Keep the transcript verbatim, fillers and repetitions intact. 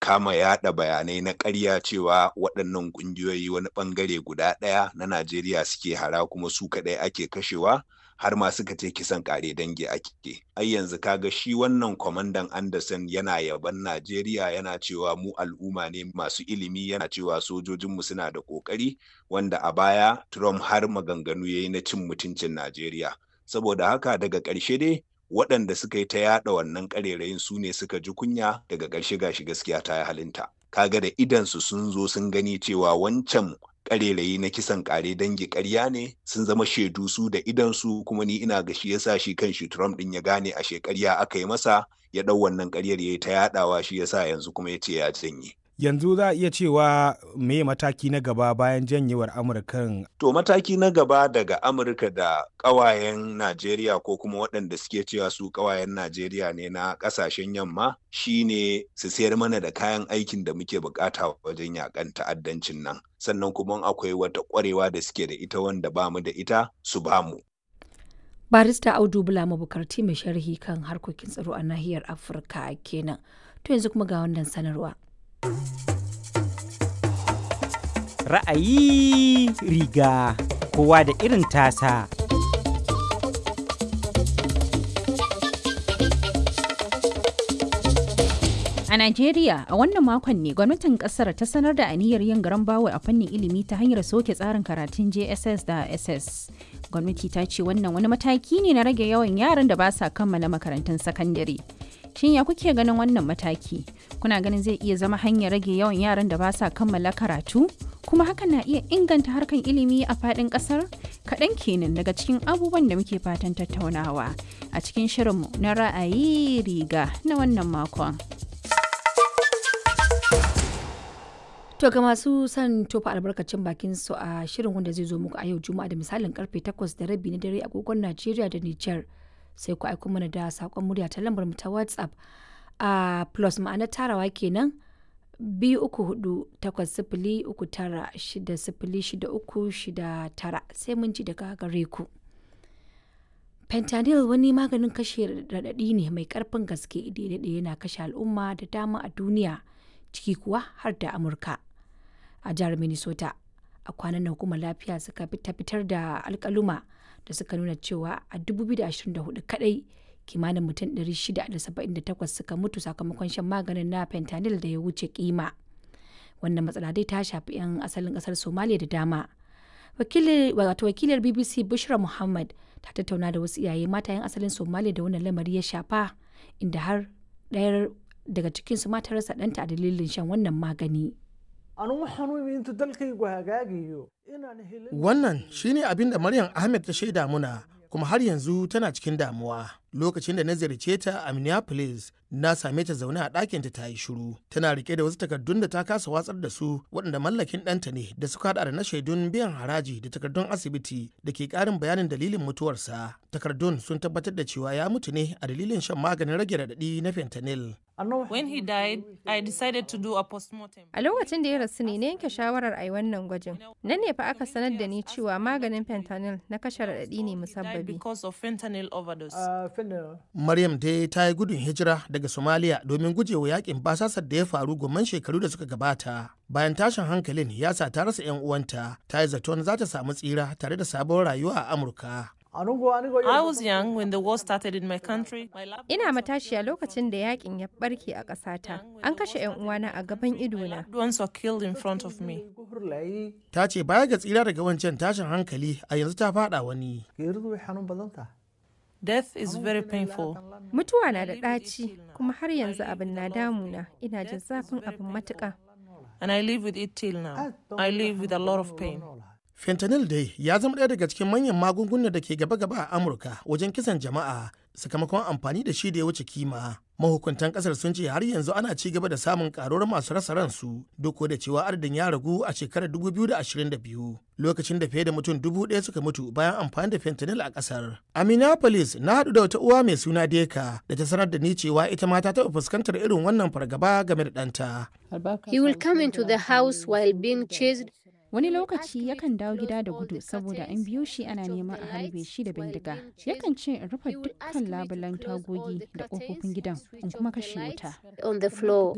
kama yaɗa bayanai na ƙarya cewa waɗannan ƙungiyoyi wani ɓangare guda ɗaya na Najeriya suke hara kuma su kaɗai ake kashewa, har ma suka ce kisan ƙare dangi ake. Ai yanzu kaga shi wannan kwamandan Anderson yana yaban Najeriya, yana cewa mu al'umma ne masu ilimi, yana cewa sojojinmu suna da ƙoƙari, wanda a baya Trump har maganganu ya yi na cin mutuncin Najeriya. Saboda haka daga ƙarshe dai waɗanda suka yi ta yaɗa wannan ƙarerayin su ne suka ji kunya, daga ƙarshe gashi gaskiya ta yi halinta. Kaga da idansu sun zo sun gani cewa wancan ƙarerayi na kisan ƙare dangi ƙarya ne, sun zama shaidu su da idansu. Kuma ni ina ga shi yasa shi kan shi Trump ɗin ya gane ashe ƙarya aka yi masa, ya ɗau wannan ƙaryar ya yi ta yaɗawa, shi yasa yanzu kuma ya ce ya janye. Yanzu za a iya cewa me mataki na gaba bayan janyewar Amurkan? To, mataki na gaba daga Amurka da ƙawayen Najeriya, ko kuma waɗanda suke cewa su ƙawayen Najeriya ne na ƙasashen yamma, shine su sayar mana da kayan aikin da muke bukata wajen yakan ta'addancin nan. Sannan kuma akwai wata ƙwarewa da suke da ita wanda bamu da ita, su bamu. Barista Audu Bula Mabukarti, mai sharhi kan harkokin tsaro a nahiyar Afirka kenan. To, yanzu kuma ga wannan sanarwa. Ra'ayi riga kowa da irin tasa. A Najeriya, a wannan makon ne gwamnatin kasar ta sanar da aniyar yin garan bawul a fannin ilimi ta hanyar soke tsarin karatun J S S da S S. Gwamnati ta ce wannan wani mataki ne na rage yawan yaran da ba sa kammala makarantun sakandare. Shin ya kuke ganin wannan mataki? Kuna ganin zai iya zama hanyar rage yawan yaran da ba sa kammala karatu? Kuma hakan na iya inganta harkan ilimi a faɗin ƙasar? Kaɗan kenan daga cikin abubuwan da muke fatan tattaunawa a cikin shirinmu na ra'ayi riga na wannan makon. To, ga masu son tofa albarkacin bakin su a shirin wanda zai zo muku a yau Juma'a da misalin karfe takwas da rabi na dare agogon Najeriya da Nijar, sai ku aiko mana da sakon murya ta lambar mu ta WhatsApp a plus, ma'ana tarawa kenan, biyu uku hudu takwas sifili uku tara shida sifili shida uku shida tara. Sai mun ji daga gare ku. Fentanyl wani maganin kashe raɗaɗi ne mai ƙarfin gaske da ya daɗe yana kashe al'umma da dama a duniya, ciki kuwa har da Amurka. A jihar Minnesota, a kwanan nan hukumar lafiya suka fitar da alkaluma da suka nuna cewa a dubu biyu da ashirin da huɗu kadai kimanin mutum ɗari shida da saba'in da takwas suka mutu sakamakon shan maganin na fentanyl da ya wuce kima. Wannan matsala dai ta shafi 'yan asalin kasar Somalia da dama. Wato wakilar B B C Bushra Muhammad ta tattauna da wasu iyaye mata 'yan asalin Somalia da wannan lamari ya shafa, inda har ɗayar daga cikinsu ma ta rasa ɗanta a dalilin shan wannan magani. Wannan shine abin da Maryam Ahmed ta shaida muna, kuma har yanzu tana cikin damuwa. Lokacin da na ziyarce ta a Minneapolis, na same ta zaune a ɗakinta ta yi shiru. Tana rike da wasu takardun da ta kasa watsar da su, waɗanda mallakin ɗanta ne, da suka haɗa da na shaidun biyan haraji da takardun asibiti da ke ƙarin bayanin dalilin mutuwarsa. Takardun sun tabbatar da cewa ya mutu ne a dalilin shan maganin rage raɗaɗi na fentanyl. When he died, I decided to do a postmortem. A lokacin da ya rasu ne na yanke shawarar a yi wannan gwajin. Nan ne fa aka sanar da ni cewa maganin fentanyl na kashe raɗaɗi ne musabbabi. Because of fentanyl overdose. Maryam dai ta yi gudun hijira daga Somalia domin gujewa yakin basasar da ya faru gomman shekaru da suka gabata. Bayan tashin hankalin ya sa ta rasa 'yan uwanta, ta yi zaton za ta samu tsira tare da sabon rayuwa a Amurka. I was young when the war started in my country. Ina matashiya lokacin da yakin ya barke a ƙasata. An kashe 'yan uwana a gaban idona. Loved ones were killed in front of me. Ta ce baya ga tsira daga wancan tashin hankali, a yanzu ta fada wani. Death is very painful. Mutuwa na da ɗaci, kuma har yanzu abin na damuna. Ina jin zafin abin matuƙa. And I live with it till now. I live with a lot of pain. Fentanyl dai ya zama ɗaya daga cikin manyan magungunan da ke gaba-gaba a Amurka wajen kisan jama'a sakamakon amfani da shi da ya wuce kima. Mahukuntan kasar sun ce har yanzu ana ci gaba da samun karuwar masu rasa ransu, duk da cewa adadin ya ragu a shekarar dubu biyu da ashirin da biyu, lokacin da fiye da mutum dubu ɗaya suka mutu bayan amfani da fentanyl a kasar. A Minneapolis na haɗu da wata uwa mai suna Deka da ta sanar da ni cewa ita ma ta taɓa fuskantar irin wannan fargaba game da ɗanta. He will come into the house while being chased. Wani lokaci yakan dawo gida da gudu saboda an biyo shi ana neman a harbe shi da bindiga. Yakan ce in rufe dukkan labulen tagogi da ƙofofin gidan in kuma kashe wuta. On the floor.